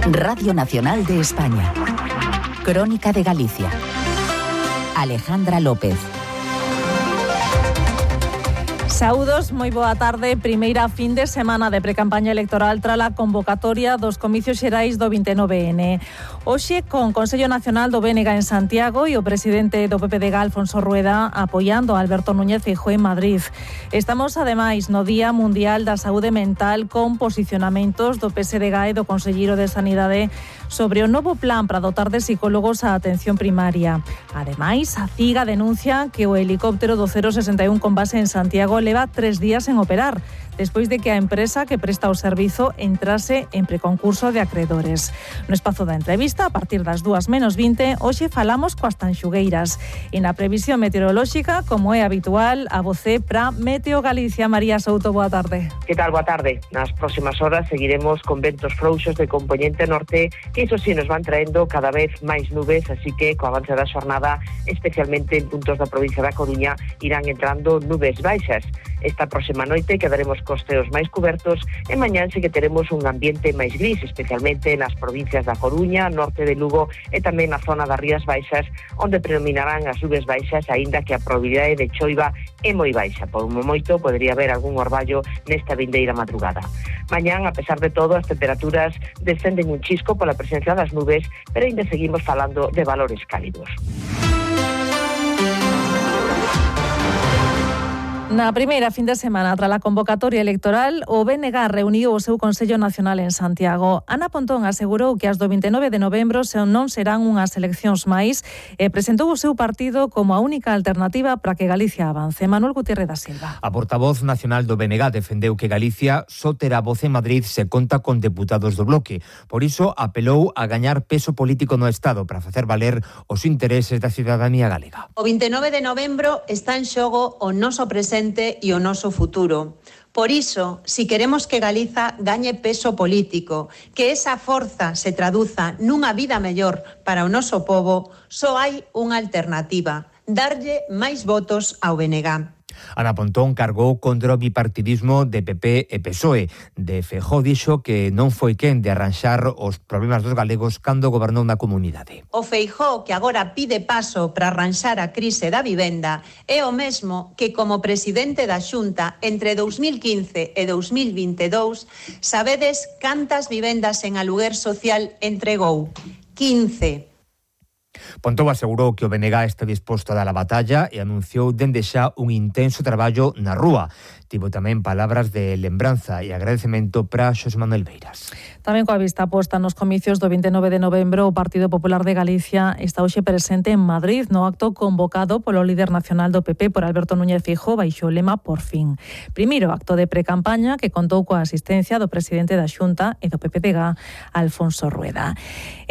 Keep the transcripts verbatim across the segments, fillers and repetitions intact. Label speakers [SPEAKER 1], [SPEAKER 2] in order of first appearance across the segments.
[SPEAKER 1] Radio Nacional de España. Crónica de Galicia. Alejandra López.
[SPEAKER 2] Saúdos, moi boa tarde. Primeira fin de semana de precampaña electoral tras a convocatoria dos comicios xerais do vinte e nove ene. Hoxe, con Consello Nacional do B N G en Santiago e o presidente do P P D G, Alfonso Rueda, apoiando a Alberto Núñez Feijóo en Madrid. Estamos, ademais, no Día Mundial da Saúde Mental con posicionamentos do P S D G e do Conselleiro de Sanidade sobre o novo plan para dotar de psicólogos a atención primaria. Ademais, a CIGA denuncia que o helicóptero do cero sesenta e un con base en Santiago leva tres días en operar, despois de que a empresa que presta o servizo entrase en preconcurso de acreedores. No espazo da entrevista, a partir das dúas menos vinte, hoxe falamos coas tanxugueiras. E na previsión meteorolóxica, como é habitual, a vocé para Meteo Galicia. María Souto, boa tarde.
[SPEAKER 3] Que tal, boa tarde? Nas próximas horas seguiremos con ventos frouxos de componente norte, que iso sí nos van traendo cada vez máis nubes, así que co avance da xornada, especialmente en puntos da provincia da Coruña, irán entrando nubes baixas. Esta próxima noite quedaremos cos ceos máis cubertos e mañán sí que teremos un ambiente máis gris, especialmente nas provincias da Coruña, norte de Lugo e tamén na zona das Rías Baixas, onde predominarán as nubes baixas, aínda que a probabilidade de choiva é moi baixa. Por un moito podería haber algún orballo nesta vindeira madrugada. Mañán, a pesar de todo, as temperaturas descenden un chisco pola presencia das nubes, pero ainda seguimos falando de valores cálidos.
[SPEAKER 2] Na primeira fin de semana, tras a convocatoria electoral, o B N G reuniu o seu Consello Nacional en Santiago. Ana Pontón asegurou que as do vinte e nove de novembro non serán unhas eleccións máis e presentou o seu partido como a única alternativa para que Galicia avance. Manuel Gutiérrez da Silva.
[SPEAKER 4] A portavoz nacional do B N G defendeu que Galicia só terá voz en Madrid se conta con deputados do bloque. Por iso apelou a gañar peso político no Estado para facer valer os intereses da cidadanía galega.
[SPEAKER 5] O vinte e nove de novembro está en xogo o noso presente e o noso futuro. Por iso, si queremos que Galiza gañe peso político, que esa forza se traduza nunha vida mellor para o noso pobo, só hai unha alternativa: darlle máis votos ao B N G.
[SPEAKER 4] Ana Pontón cargou contra o bipartidismo de P P e P S O E. De Feijóo dixo que non foi quen de arranxar os problemas dos galegos cando gobernou na comunidade.
[SPEAKER 5] O Feijóo que agora pide paso para arranxar a crise da vivenda é o mesmo que como presidente da Xunta entre dous mil quince e dous mil vinte e dous sabedes cantas vivendas en aluguer social entregou? quince.
[SPEAKER 4] Pontón asegurou que o B N G está disposto a dar a batalla e anunciou dende xa un intenso traballo na rúa. Tivo tamén palabras de lembranza e agradecemento para Xosé Manuel Beiras.
[SPEAKER 2] Tamén coa vista posta nos comicios do vinte e nove de novembro, o Partido Popular de Galicia está hoxe presente en Madrid no acto convocado polo líder nacional do P P, por Alberto Núñez Feijóo, baixo o lema Por fin. Primeiro acto de precampaña que contou coa asistencia do presidente da Xunta e do P P D G, Alfonso Rueda.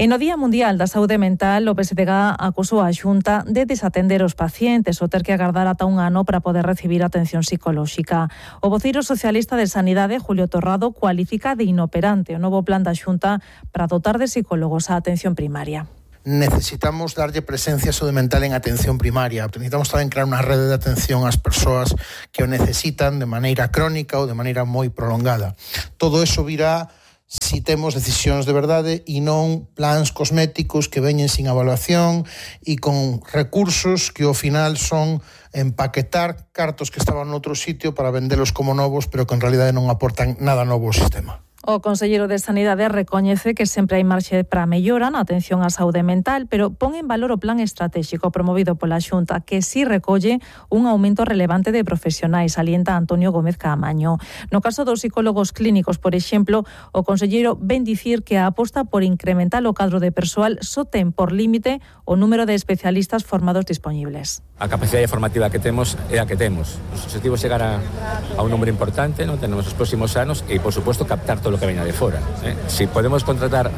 [SPEAKER 2] E no Día Mundial da Saúde Mental, o P S D G acusou a Xunta de desatender os pacientes ou ter que agardar ata un ano para poder recibir atención psicolóxica. O voceiro socialista de Sanidade, Julio Torrado, cualifica de inoperante o novo plan da Xunta para dotar de psicólogos a atención primaria.
[SPEAKER 6] Necesitamos darlle presencia saúde mental en atención primaria. Necesitamos tamén crear unha rede de atención ás persoas que o necesitan de maneira crónica ou de maneira moi prolongada. Todo eso virá si temos decisións de verdade e non plans cosméticos que veñen sin evaluación e con recursos que ao final son empaquetar cartos que estaban noutro sitio para vendelos como novos, pero que en realidade non aportan nada novo ao sistema.
[SPEAKER 2] O conselleiro de Sanidade recoñece que sempre hai marxe para mellora na atención á saúde mental, pero pon en valor o plan estratégico promovido pola Xunta, que si recolle un aumento relevante de profesionais, alienta Antonio Gómez Caamaño. No caso dos psicólogos clínicos, por exemplo, o conselleiro ven dicir que a aposta por incrementar o cadro de persoal só ten por límite o número de especialistas formados dispoñibles.
[SPEAKER 7] A capacidade formativa que temos é a que temos. Os objetivos chegar a, a un número importante, non tenemos os próximos anos e, por suposto, captar todo o que venha de fora. Eh? Si podemos contratar,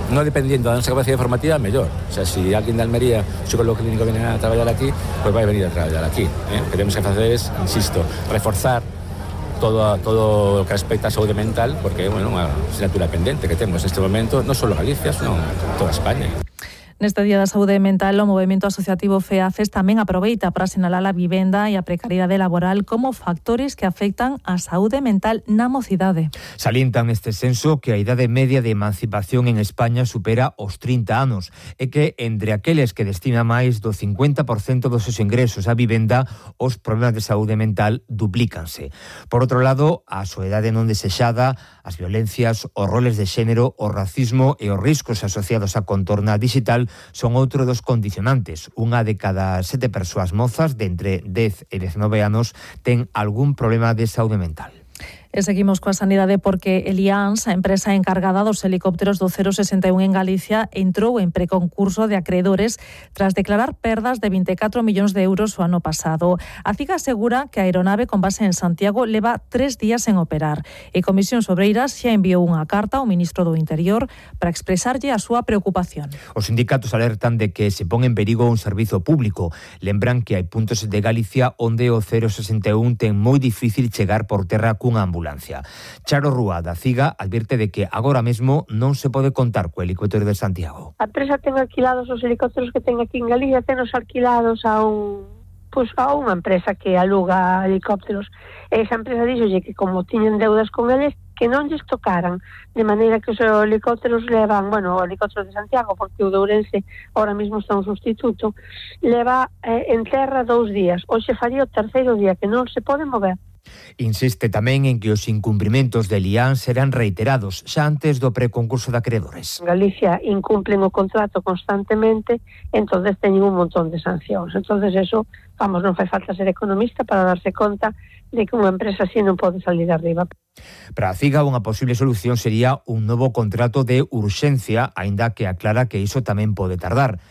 [SPEAKER 7] non dependiendo da nosa capacidade formativa, mellor. O sea, si alguén de Almería, o psicólogo clínico, viene a traballar aquí, pois pues vai venir a traballar aquí. Eh? O que temos que facer es, insisto, reforzar todo, todo o que respecta a saúde mental, porque é bueno, unha asignatura pendente que temos neste momento, non só Galicia, senón toda España.
[SPEAKER 2] Neste Día da Saúde Mental, o movemento asociativo FEACES tamén aproveita para sinalar a vivenda e a precariedade laboral como factores que afectan a saúde mental na mocidade.
[SPEAKER 4] Salientan neste censo que a idade media de emancipación en España supera os trinta anos e que entre aqueles que destina máis do cincuenta por cento dos seus ingresos á vivenda, os problemas de saúde mental duplícanse. Por outro lado, a soedade non desexada, as violencias, os roles de xénero, o racismo e os riscos asociados á contorna digital son outro dos condicionantes. Unha de cada sete persoas mozas de entre dez e diecinueve anos ten algún problema de saúde mental.
[SPEAKER 2] E seguimos coa sanidade porque Elians, a empresa encargada dos helicópteros do cero sesenta e un en Galicia, entrou en preconcurso de acreedores tras declarar perdas de vinte e catro millóns de euros o ano pasado. A CIGA asegura que a aeronave con base en Santiago leva tres días en operar e Comisións Obreiras xa enviou unha carta ao ministro do Interior para expresarlle a súa preocupación.
[SPEAKER 4] Os sindicatos alertan de que se pon en perigo un servizo público. Lembran que hai puntos de Galicia onde o cero sesenta e un ten moi difícil chegar por terra cunha ambulancia. Charo Rúa, da CIGA, advirte de que agora mesmo non se pode contar co helicóptero de Santiago.
[SPEAKER 8] A empresa ten alquilados os helicópteros que ten aquí en Galicia, tenos alquilados a un pois a unha empresa que aluga helicópteros. E esa empresa díxolle que como tiñen deudas con eles, que non lles tocaran, de maneira que os helicópteros levan, bueno, o helicóptero de Santiago, porque o de Ourense ahora mesmo está un sustituto, leva eh, en terra dous días. Hoxe faría o terceiro día que non se pode mover.
[SPEAKER 4] Insiste tamén en que os incumprimentos de Elians serán reiterados xa antes do preconcurso de acreedores.
[SPEAKER 8] Galicia incumplen o contrato constantemente, entonces teñen un montón de sancións. Entonces eso, vamos, non fai falta ser economista para darse conta de que unha empresa así non pode salir arriba.
[SPEAKER 4] Para a CIGA, unha posible solución sería un novo contrato de urxencia, aínda que aclara que iso tamén pode tardar.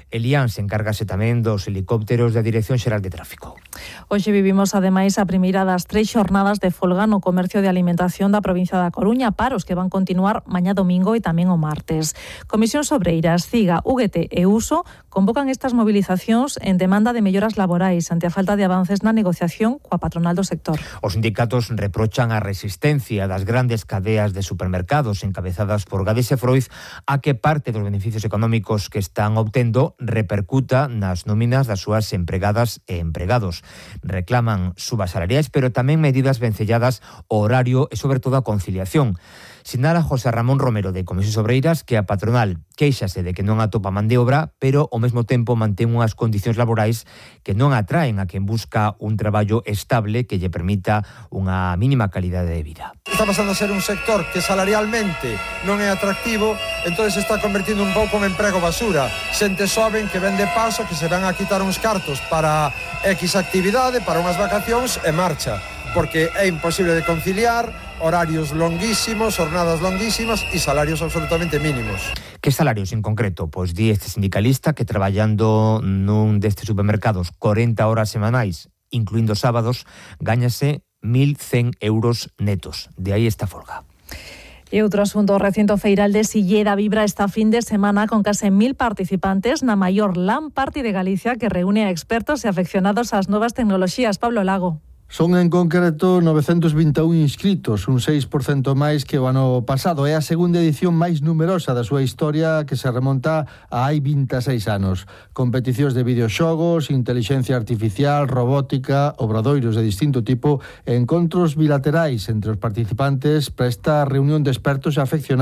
[SPEAKER 4] Elians encárgase tamén dos helicópteros da Dirección Xeral de Tráfico.
[SPEAKER 2] Hoxe vivimos, ademais, a primeira das tres xornadas de folga no comercio de alimentación da provincia da Coruña, paros que van continuar mañá domingo e tamén o martes. Comisións Obreiras, CIGA, U G T e Uso convocan estas movilizacións en demanda de melloras laborais ante a falta de avances na negociación coa patronal do sector.
[SPEAKER 4] Os sindicatos reprochan a resistencia das grandes cadeas de supermercados encabezadas por Gades e Froiz a que parte dos beneficios económicos que están obtendo repercuta nas nóminas das súas empregadas e empregados. Reclaman subas salariais, pero tamén medidas vencelladas ao horario e, sobre todo, a conciliación. Sinala José Ramón Romero, de Comisións Obreiras, que a patronal quéixase de que non atopa man de obra, pero ao mesmo tempo mantén unhas condicións laborais que non atraen a quen busca un traballo estable que lle permita unha mínima calidade de vida.
[SPEAKER 9] Está pasando a ser un sector que salarialmente non é atractivo, entón se está convertindo un pouco en emprego basura. Xente xoven que vende paso, que se van a quitar uns cartos para X actividade, para unhas vacacións e marcha, porque é imposible de conciliar, horarios longuísimos, jornadas longuísimas e salarios absolutamente mínimos.
[SPEAKER 4] Que salarios en concreto? Pois di este sindicalista que traballando nun destes supermercados corenta horas semanais, incluindo sábados, gáñase mil cen euros netos. De aí esta folga.
[SPEAKER 2] E outro asunto, o recinto feiral de Silleda vibra esta fin de semana con case mil participantes na maior LAN Party de Galicia que reúne a expertos e afeccionados ás novas tecnoloxías. Pablo Lago.
[SPEAKER 10] Son en concreto novecentos vinte e un inscritos, un seis por cento máis que o ano pasado. É a segunda edición máis numerosa da súa historia que se remonta a hai vinte e seis anos. Competicións de videoxogos, intelixencia artificial, robótica, obradoiros de distinto tipo e encontros bilaterais entre os participantes para esta reunión de expertos e afeccionados